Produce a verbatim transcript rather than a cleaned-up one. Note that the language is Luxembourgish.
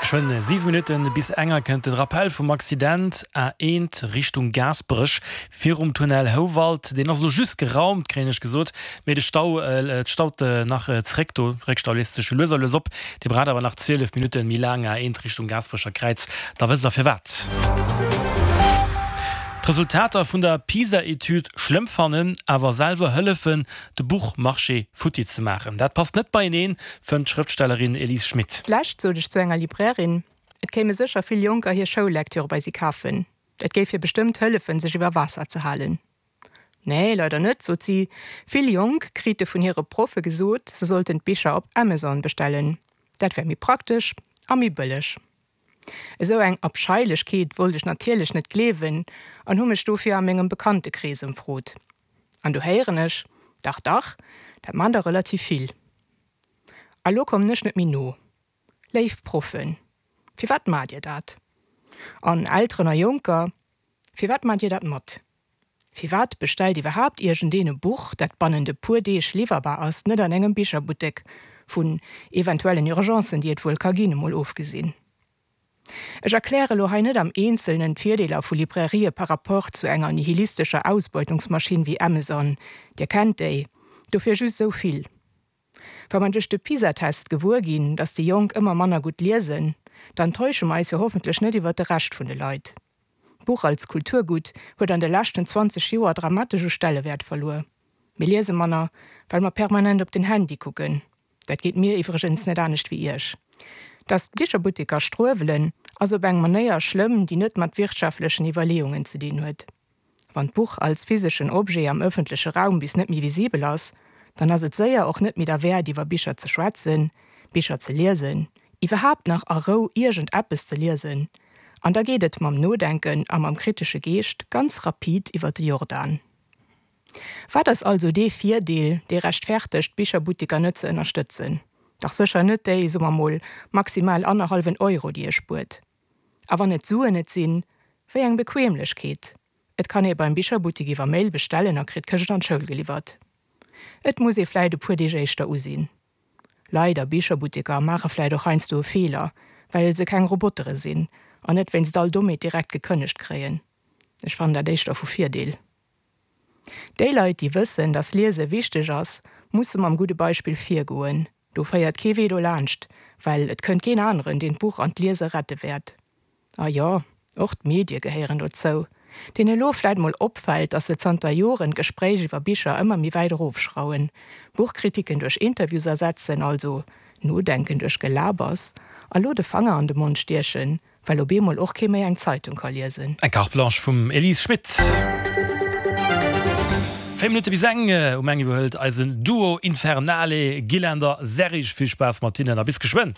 Geschwënn siwe Minutten bis enger kënnt den Rappel vum Accident A eent Richtung Gaasperech virum Tunnel Houwald. Deen ass elo just geraumt, kréien ech gesot, mee de Stau, et staut nach zréck do. Réckstau léist sech lues a lues op. Dir braucht awer nach zwielef Minutten méi laang A eent Richtung Gaasperecher Kräiz, da wësst der firwat. D'Resultater vun der PISA-Etüd schlëmm fannen, awer selwer hëllefen, de Buchmarché futti ze maachen, dat passt net beieneen, fënnt d'Schrëftstellerin Elise Schmit. D'lescht sot ech zu enger Librairin, et kéime sécher vill Jonker hir Schoullektüre bei si kafen, dat géif hir bestëmmt hëllefen, sech iwwer Waasser ze halen. Nee, leider net, sot si, vill Jonk krite vun hire Proffe gesot, se sollten d'Bicher op Amazon bestellen, dat wär méi praktesch a méi bëlleg. Esou eng Abscheilechkeet wollt ech natierlech net gleewen an hu mech dofir a mengem Bekanntekrees ëmfrot. An du héieren ech, Dach, dach, dat man der relativ vill. A lo kommen ech net méi no. Léif Proffen, firwat maacht dir dat? An Elteren a Jonker, firwat maacht dir dat mat? Firwat bestellt iwwerhaapt iergendeen e Buch, dat bannent e puer Deeg liwwerbar ass, net an engem Bicherbuttek, vun eventuellen Urgencen, déi et wuel ka ginn, emol ofgesinn? Ech erkläre lo hei net am Eenzelnen d'Virdeeler vu Librairië par rapport zu enger nihilistescher Ausbeutungsmaschinn wéi Amazon, Dir kennt déi, dofir just esou vill, Wa mer duerch de PISA-Test gewuer ginn, dass déi Jonk ëmmer manner gutt liesen, dann täusche mer eis jo hoffentlech net iwwer de Rescht vun de Leit. D'Buch als Kulturgutt huet an de leschten zwanzeg Joer dramatesch u Stellewäert verluer. Mir liese manner, well mer permanent op den Handy kucken. Dat geet mir iwwregens net anescht wéi iech. Dass d'Bicherbutteker struewelen, ass op eng Manéier schlëmm, déi net mat wirtschaftlechen Iwwerleeungen ze dinn huet. Wann d'Buch als physeschen Objet am ëffentleche Raum bis net méi visibel ass, dann ass et séier och net méi derwäert iwwer Bicher ze schwätzen, Bicher ze liesen, iwwerhaapt nach a Rou iergend eppes ze liesen. An da geet et mam Nodenken a mam kritesche Geescht ganz rapid iwwer de Jordan. Wat ass also dee Virdeel, dee rechtfertegt, d'Bicherbutteker net ze ënnerstëtzen? Dach sécher net déi, soe mer mol, maximal annerhallwen Euro, déi ee spuert. A wann et d'Suen net sinn, wéi eng Bequemlechkeet! Et kann ee beim Bicherbuttek iwwer Mail bestellen a kritt d'Këscht an d'Schoul geliwwert. Et muss ee vläit e puer Deeg éischter usinn. Leit a Bicherbutteker maache vläit och heiansdo e Feeler, well se keng Robotere sinn an net wéinst all Dommheet direkt gekënnegt kréien. Ech fannen dat éischter vu Virdeel. Déi Leit, déi wëssen, dass Liese wichteg ass, musse mam gudde Beispill virgoen. Do féiert kee Wee dolaanscht, well et kënnt keen aneren, deen d'Buch an d'Liese rette wäert. A jo, och d'Medie gehéieren dozou, deenen elo vläit mol opfält, dass se zanter Joren d'Gespréich iwwer Bicher ëmmer méi wäit erofschrauwen, Buchkritiken duerch Interviews ersetzen, also Nodenken duerch Gelabers, a lo de Fanger an de Mond stiechen, well op eemol och kee méi eng Zeitung ka liesen. Eng Carte Blanche vum Elise Schmit. Véier Minutte bis eng. Um eng iwwerhëlt eisen Duo Infernale Gilender Serrig. Vill Spaass mat hinnen a bis geschwënn.